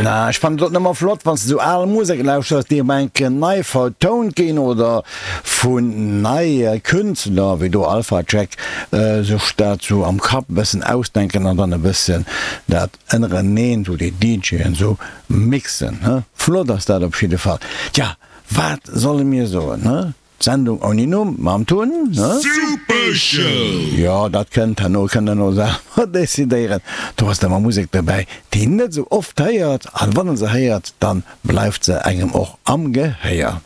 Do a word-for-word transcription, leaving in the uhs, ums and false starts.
Na, ech fannen et och nëmmer flott, wann s de sou al Musek lauschters, déi op enke nei vertount ginn oder vun neie Künstler, wéi do Alpha Jack, sech dat sou am Kapp e bëssen ausdenken an dann e bëssen dat ënnereneen, sou déi DJen sou mixen. Flott ass dat op jidde Fall. Tja, wat solle mir soen, he? D'Sendung ouni Numm mam Tun, ne? Super Show! Jo, dat kënnt herno, kënnt der no selwer decidéieren. Do ass da mar Musek dobäi, déi een net esou oft héiert, an wann en se héiert, dann bleift se engem och am Gehéier.